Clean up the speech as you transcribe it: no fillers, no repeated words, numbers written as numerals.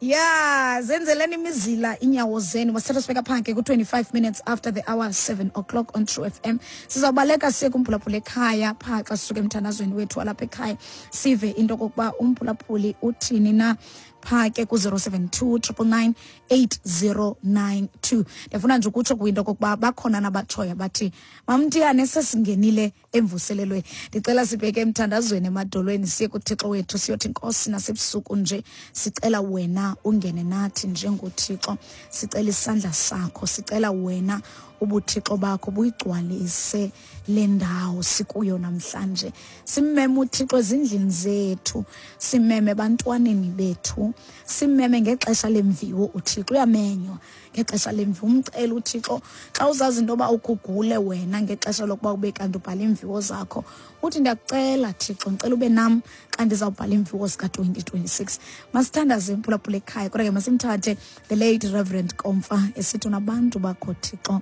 Ya, zenzeleni imizila inyawo zenu. Masithatha sibeka phanke ku-25 minutes after the hour 7 o'clock on True FM. Sizawubaleka siye kumphulaphuli ekhaya phaa xa sisuka emthandazweni wethu walapha ekhaya, sive into okokuba umphulaphuli uthini na phaa ke ku-072 999 8092. Ndiyafuna nje ukutsho kwinto okokuba bakhona nabatshoyo bathi, "Mamtiyane, sesingenile emvuselelweni." Ndicela sibheke emthandazweni emadolweni, siye kuThixo wethu, siyothi, "Nkosi, nasebusuku nje sicela wena ungene nathi njengoThixo. Sicela isandla sakho, sicela wena ubuthixo bakho buyigcwalise le ndawo sikuyo namhlanje." Simmeme uThixo ezindlini zethu, simeme ebantwaneni bethu, simeme ngexesha lemviwo. UThixo uyamenywa ngexesha lemviwo. Umcela uThixo xa uzazi into yoba ukugule wena ngexesha lokuba ube kanti ubhala iimviwo zakho, uthi, "Ndiyakucela Thixo, ndicela ube nam xa ndizawubhala iimviwo zika-2026." Masithandaze, mphulaphula ekhaya. Kodwa ke masimthathe the late Reverend Komfa esithi, "Unabantu bakho, Thixo."